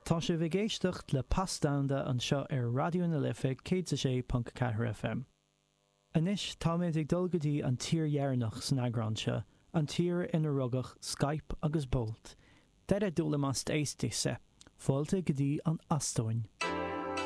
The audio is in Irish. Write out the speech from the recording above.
Tá sibh ag éisteacht le Pas Domhanda anseo ar Raidió na Life 106.4 FM. Anois táimid ag dul go dtí an tír dheireanach san eagrán seo, an tír ina rugadh Skype agus Bolt. Tere tulemast Eestisse! Fáilte go dtí an Eastóin.